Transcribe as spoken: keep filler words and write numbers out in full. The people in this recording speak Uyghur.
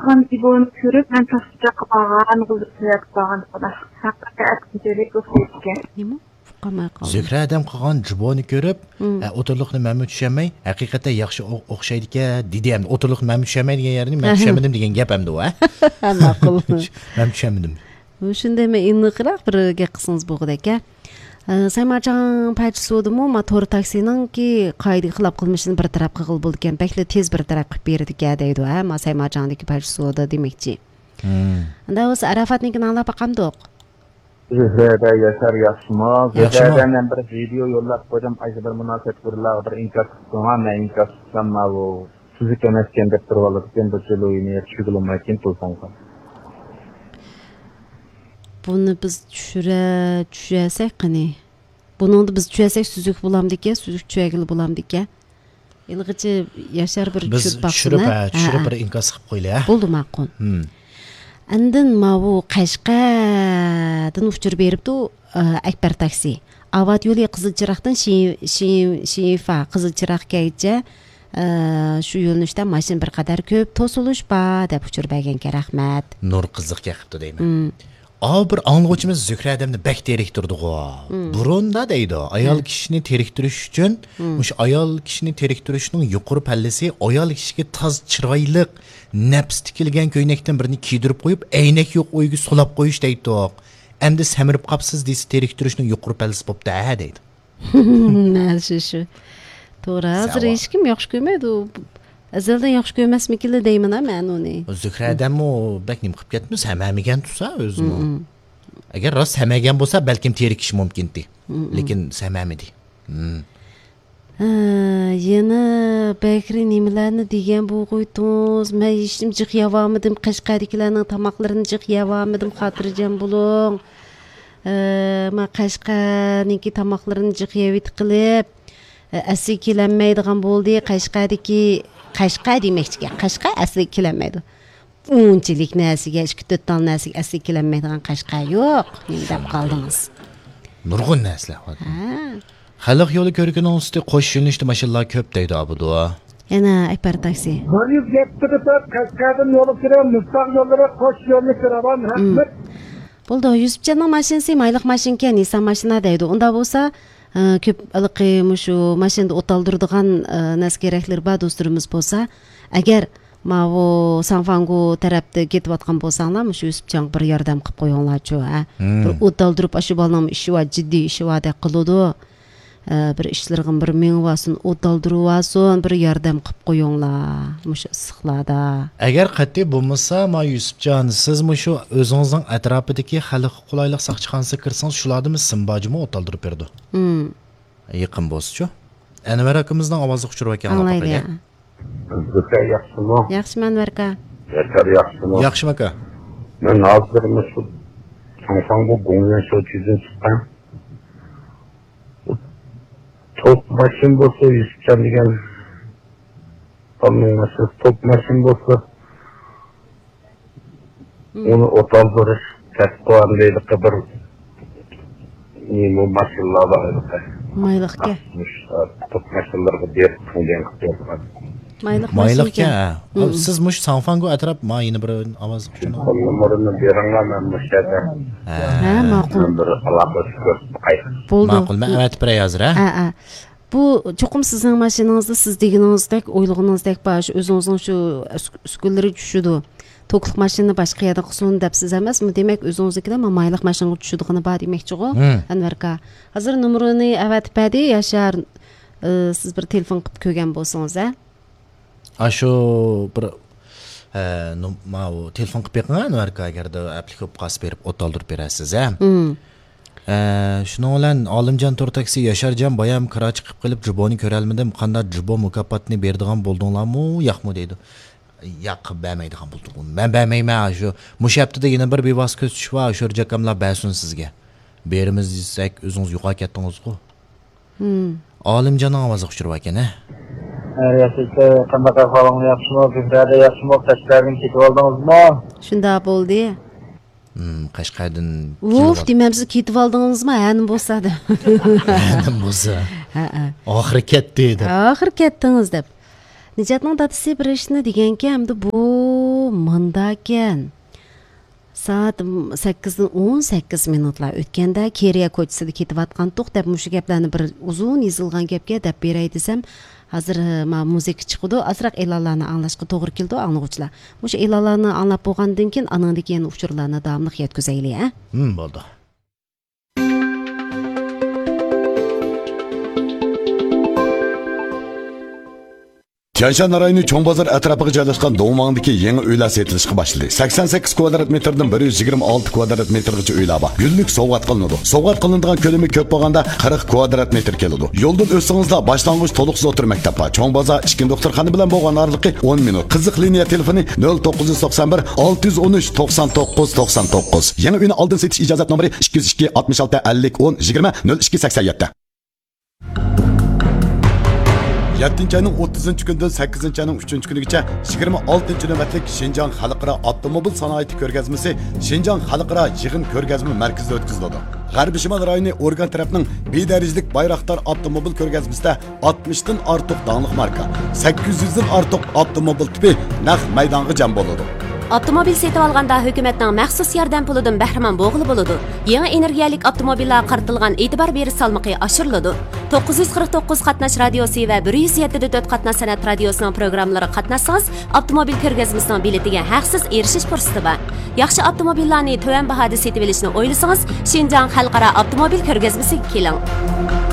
قىلغان ئىبونى كۆرۈپ، مەن تاختا بارغان، غۇلجىغا بارغان. ھەقىقەتەن ئەتكىنچىلىك ئوخشايدىكەن. نېمە؟ ئۇقالماي قالدىم. زۆھرە ھەدەم قىلغان جۇبونى كۆرۈپ، ھە، ئوتتۇرىلىقنى مەنمۇ چۈشەنمەي، ھەقىقەتەن ياخشى ئو-، ئوخشايدىكەن، دېدى ئەمدى. ئوتتۇرىلىقنى مەنمۇ چۈشەنمەي دېگەن يەرنى مەن چۈشەنمىدىم دېگەن گەپ ئەمدى ئۇ، ھە؟ ماقۇل. مەنمۇ چۈشەنمىدىم. شۇنداق، مەن ئېنىقراق بىر گەپ قىلسىڭىز بولغۇدەك، ھە؟ ئە، سايماچاڭ پەرچە سودىمۇ ما تور تاكسىنىڭكى قائىدىگە خىلاپ قىلمىشىنى بىر تەرەپ قىلغىلى بولىدىكەن، بەكلا تېز بىر تەرەپ قىلىپ بېرىدىكەن دەيدۇ، ھە، ما سايماچاڭدىكى پەرچە سودا دېمەكچى. ئۇنداق بولسا ئاراپاتنىڭكىنى ئاڭلاپ باقامدۇق؟ زۆھرەدە ياشار ياخشىمۇ؟ ياخشىمۇ؟ زۆھرەدە مەن بىر ۋىدېئو يوللاپ قويدۇم، ئاشۇ بىر مۇناسىۋەت بىرلارغا بىر ئىنكاس قىلسىڭا، مەن ئىنكاس قىلسام، ماۋۇ سۈزۈك ئەمەسكەن دەپ تۇرۇۋالىدىكەن، بۇ جۇلۇيىنى چۈشۈرگىلى بولمايكەن تېلېفونغا. بۇنى بىز چۈشۈرە، چۈشۈرسەك قېنى؟ بۇنىڭدا بىز چۈشۈرسەك سۈزۈك بولامدىكەن، سۈزۈك چۈشۈرگىلى بولامدىكەن؟ ھېلىغىچە ياشار بىر بىز چۈشۈرۈپ باقسۇن، چۈشۈرۈپ، ھە؟ ھە، چۈشۈرۈپ ھە. بىر ئىنكاس قىلىپ قويىلى، ھە؟ بولدى، ماقۇل. ھىم. ئاندىن ماۋۇ قەشقەردىن ئۇچۇر بېرىپتۇ، ئە، ئەكبەر تاكسى. ئاۋات يولى قىزىل چىراغدىن شى-، شى-، شىفا، قىزىل چىراغ كەيچە، ئە، شۇ يۆنىلىشتە ماشىنا بىر قەدەر كۆپ، توسۇلۇش بار، دەپ ئۇچۇر بەرگەنكەن، رەھمەت. نۇر قىزىق يېقىپتۇ دەيمەن. ھىم. ئاۋۇ بىر ئاڭلىغۇچىمىز زۆھرە ھەدەمنى بەك تېرىكتۈردىغۇ. مم. بۇرۇندا دەيدۇ، ئايال مم. كىشىنى تېرىكتۈرۈش ئۈچۈن، مم. مۇشۇ ئايال كىشىنى تېرىكتۈرۈشنىڭ يۇقىرى پەللىسى ئايال كىشىگە تاز چىرايلىق، نەپىس تىكىلگەن كۆينەكتىن بىرنى كىيدۈرۈپ قويۇپ، ئەينەك يوق ئۆيگە سولاپ قويۇش دەيدۇق. ئەمدى سەمرىپ قاپسىز دېسە تېرىكتۈرۈشنىڭ يۇقىرى پەللىسى بوپتۇ ھە دەيدۇ. ھە، شۇ، شۇ. توغرا، ھازىر ھېچكىم ياخشى كۆرمەيدۇ. ئەزەلدىن ياخشى كۆرمەسمىكىنلا دەيمەن مەن ئۇنى. زۆھرە ھەدەممۇ بەك نېمە قىلىپ كەتمىسە، ھەممىگەن تۇرسا ئۆزىمۇ. مم. ئەگەر راست ھەممىگەن بولسا، بەلكىم تېرىكىشى مۇمكىنتى. مم. لېكىن ھەممىدى. مم. ھە، يەنە بەكرى نېمىلەرنى دېگەن بولغۇيتتىڭىز؟ مەن ھېچنېمە جىق يەۋالمىدىم، قەشقەردىكىلەرنىڭ تاماقلىرىنى جىق يەۋالمىدىم، خاتىرجەم بولۇڭ. ئە، ما قەشقەرنىڭكى تاماقلىرىنى جىق يەۋېتىپ قېلىپ، ئە، ئەسلىگە كېلەلمەيدىغان بولدى. قەشقەردىكى، قەشقەر دېمەكچىكەن، قەشقەر ئەسلىگە كېلەلمەيدۇ. ئۇنچىلىك نەرسىگە، ئىككى تۆت تال نەرسىگە ئەسلىگە كېلەلمەيدىغان قەشقەر يوق. نېمە دەپ قالدىڭىز؟ نۇرغۇن نەرسىلەر بار. ھە. خەلق يولى كۆركىنىڭ ئۈستى قوش يۆنىلىشتە ماشىنىلار كۆپ دەيدۇ ئابىدۇ. يەنە ئەكبەر تاكسى. بىر يۈز يەتتە تۆت قەشقەردىن يولغا كىرىڭ، مىستاق يوللىرى قوش يۆنىلىش راۋان، رەھمەت. بولدى، يۈسۈپجاننىڭ ماشىنىسى مايلىق ماشىنىكەن، نىسسان ماشىنا دەيدۇ. ئۇنداق بولسا، ئە، كۆپ ھېلىقى مۇشۇ ماشىنىدا ئوت ئالدۇرىدىغان، ئە، نەرسە كېرەكلىرى بار دوستلىرىمىز بولسا، ئەگەر ماۋۇ ساڭفاڭگو تەرەپتە كېتىۋاتقان بولساڭلار، مۇشۇ يۈسۈپجانغا بىر ياردەم قىلىپ قويۇڭلارچۇ، ھە. مم. بىر ئوت ئالدۇرۇپ، ئاشۇ بالىنىڭ ئىشى بار، جىددىي ئىشى باردەك قىلىدۇ. ئە، بىر ئىشلىرىغا بىر مېڭىۋالسۇن، ئوت ئالدۇرۇۋالسۇن، بىر ياردەم قىلىپ قويۇڭلار مۇشۇ ئىسسىقلاردا. ئەگەر قەتئىي بولمىسا، ما يۈسۈپجان، سىز مۇشۇ ئۆزىڭىزنىڭ ئەتراپىدىكى خەلققە قولايلىق ساقچىخانىسىغا كىرسىڭىز، شۇلاردىمۇ سىمباجىمۇ ئوت ئالدۇرۇپ بېرىدۇ. مم. يېقىن بولسىچۇ. ئەنۋەر ئاكىمىزنىڭ ئاۋازلىق ئۇچۇرى باركەن، ئاڭلاپ باقايلى. زۆھرە ياخشىمۇ؟ ياخشىمەن، ئەنۋەر ئاكا. ياشار ياخشىمۇ؟ ياخشىمۇ ئاكا. مەن ھازىر مۇشۇ ساڭفاڭگو گوڭيۈەن شوچيۇدىن چىققان. توك ماشىنا بولسا، يۈسۈپجان دېگەن بالىنىڭ ماشىنىسى توك ماشىنا بولسا، مم. ئۇنى ئوت ئالدۇرۇش تەتقىقاتىدا بىر نېمە ماشىنىلار بار ئىدى. مايلىقكەن. مۇشۇ توك ماشىنىلارغا بېرىپ قىلغان قىلغان. مايلىق مايلىقكەن، ماشىنىكەن. ھە. مم. سىز مۇشۇ ساڭفاڭگو ئەتراپ، ما يەنە بىر ئاۋاز ئۇچۇرىنى. تېلېفون نومۇرىنى بېرىڭلار، مەن مۇشۇ يەردە. ھە. ھە، ماقۇل. مەن بىر ئالاقىلىشىپ كۆرۈپ باقاي. بولدى. ماقۇل، مەن ئەۋەتىپ بېرەي ھازىر، ھە؟ ھە، ھە. بۇ چوقۇم سىزنىڭ ماشىنىڭىزدا سىز دېگىنىڭىزدەك، ئويلىغىنىڭىزدەك بار، شۇ ئۆزىڭىزنىڭ شۇ ئۈس-، ئۈسكۈنىلىرى چۈشىدۇ. توكلۇق ماشىنىنى باشقا يەردە قىلسۇن دەپسىز ئەمەسمۇ؟ دېمەك، ئۆزىڭىزنىڭكىدە ما-، مايلىق ماشىنىغا چۈشىدىغىنى بار دېمەكچىغۇ، ھىم. ئەنۋەر ئاكا. ھازىر نومۇرىنى ئەۋەتىپ بەردى، ياشار. ئى، سىز بىر تېلېفون قىلىپ كۆرگەن بولسىڭىز، ھە؟ ئاشۇ بىر، ئە، نوم-، ماۋۇ تېلېفون قىلىپ بېقىڭ، ئەنۋەر ئاكا، ئەگەردە ئەپلىك بولۇپ قالسا بېرىپ ئوت ئالدۇرۇپ بېرەرسىز، ھە؟ مم. ئە، شۇنىڭ بىلەن ئالىمجان تور تاكسى، ياشارجان، بايام كىرا چىقىپ قېلىپ، جۇبونى كۆرەلمىدىم. قانداق جۇبو مۇكاپاتنى بېرىدىغان بولدۇڭلارمۇ، ياقمۇ دەيدۇ. ياق، بەرمەيدىغان بولدۇق. مەن بەرمەيمەن، شۇ، مۇشۇ ھەپتىدە يەنە بىر بىۋاسىتە كۆزىتىش بار، شۆرجە ئاكاملار بەرسۇن سىزگە. بېرىمىز دېسەك، ئۆزىڭىز يوقاپ كەتتىڭىزغۇ. مم. ئالىمجاننىڭ ئاۋازلىق ئۇچۇرى باركەن، ھە؟ ھە، ياخشى، قانداق ئەھۋالىڭلار، ياخشىمۇ؟ زۆھرەدە ياخشىمۇ؟ قەشقەردىن كېتىۋالدىڭىزمۇ؟ شۇنداق بولدى. مم، قەشقەردىن ئۇف، كېلىۋال- دېمەمسىز، كېتىۋالدىڭىزمۇ؟ ھە، نېمە بولسا دەپ. ھە، نېمە بولسا. ھە، ھە. ئاخىرى كەتتى دەپ. ئاخىرى كەتتىڭىز دەپ. نىجاتنىڭ دادىسى بىر ئىشنى دېگەنكەن، ئەمدى بۇ مۇنداكەن، سائەت سەككىزدىن ئون سەككىز مىنۇتلار ئۆتكەندە، كېرىيە كوچىسىدا كېتىۋاتقانتۇق دەپ، مۇشۇ گەپلەرنى بىر ئۇزۇن يېزىلغان گەپكە دەپ بېرەي دېسەم، ھازىر، ما، مۇزىكا چىقىدۇ، ئازراق ئېلانلارنى ئاڭلاشقا توغرا كېلىدۇ، ئاڭلىغۇچىلار. مۇشۇ ئېلانلارنى ئاڭلاپ بولغاندىن كېيىن، ئانىڭدىن كېيىن ئۇچۇرلارنى داۋاملىق يەتكۈزەيلى، ھە؟ ھىم، بولدى. تيەنشان رايونى چوڭ بازار ئەتراپىغا جايلاشقان دۇڭۋاڭدىكى يېڭى ئۆيلەر سېتىلىشقا باشلىدى. سەكسەن سەككىز كۋادرات مېتىردىن بىر يۈز يىگىرمە ئالتە كۋادرات مېتىرغىچە ئۆيلەر بار. گۈللۈك سوۋغات قىلىنىدۇ. سوۋغات قىلىنىدىغان كۆلىمى كۆپ بولغاندا قىرىق كۋادرات مېتىر كېلىدۇ. يولدىن ئۆتسىڭىزلا باشلانغۇچ تولۇقسىز ئوتتۇرا مەكتەپ بار. چوڭ بازار ئىچكى دوختۇرخانا بىلەن بولغان ئارىلىقى ئون مىنۇت. قىزىق لىنىيە تېلېفونى نۆل توققۇز يۈز توقسان بىر، ئالتە يۈز ئون ئۈچ، توقسان توققۇز، توقسان توققۇز. يېڭى ئۆينى ئالدىن سېتىش ئىجازەت نومۇرى ئىككى يۈز ئىككى، ئاتمىش ئالتە، ئەللىك، ئون، يىگىرمە، نۆل ئىككى، سەكسەن يەتتە. يەتتىنچى ئاينىڭ ئوتتۇزىنچى كۈنىدىن سەككىزىنچى ئاينىڭ ئۈچىنچى كۈنىگىچە يىگىرمە ئالتىنچى نۆۋەتلىك شىنجاڭ خەلقئارا ئاپتوموبىل سانائىتى كۆرگەزمىسى شىنجاڭ خەلقئارا يىغىن كۆرگەزمە مەركىزىدە ئۆتكۈزۈلىدۇ. غەربىي شىمال رايونى ئورگان تەرەپنىڭ بى دەرىجىلىك بايراقدار ئاپتوموبىل كۆرگەزمىسىدە ئاتمىشتىن ئارتۇق داڭلىق ماركا، سەككىز يۈزدىن ئارتۇق ئاپتوموبىل تىپى نەق مەيدانغا جەم بولىدۇ. ئاپتوموبىل سېتىۋالغاندا ھۆكۈمەتنىڭ مەخسۇس ياردەم پۇلىدىن بەھرىمەن بولغىلى بولىدۇ. يېڭى ئېنېرگىيەلىك ئاپتوموبىللارغا قارىتىلغان ئېتىبار بېرىش سالمىقى ئاشۇرۇلىدۇ. توققۇز يۈز قىرىق توققۇز قاتناش رادىيوسى ۋە بىر يۈز يەتتە دە تۆت قاتناش سەنئەت رادىيوسىنىڭ پروگراممىلىرىغا قاتناشسىڭىز، ئاپتوموبىل كۆرگەزمىسىنىڭ بېلىتىگە ھەقسىز ئېرىشىش پۇرسىتى بار. ياخشى ئاپتوموبىللارنى تۆۋەن باھادا سېتىۋېلىشنى ئويلىسىڭىز، شىنجاڭ خەلقئارا ئاپتوموبىل كۆرگەزمىسىگە كېلىڭ.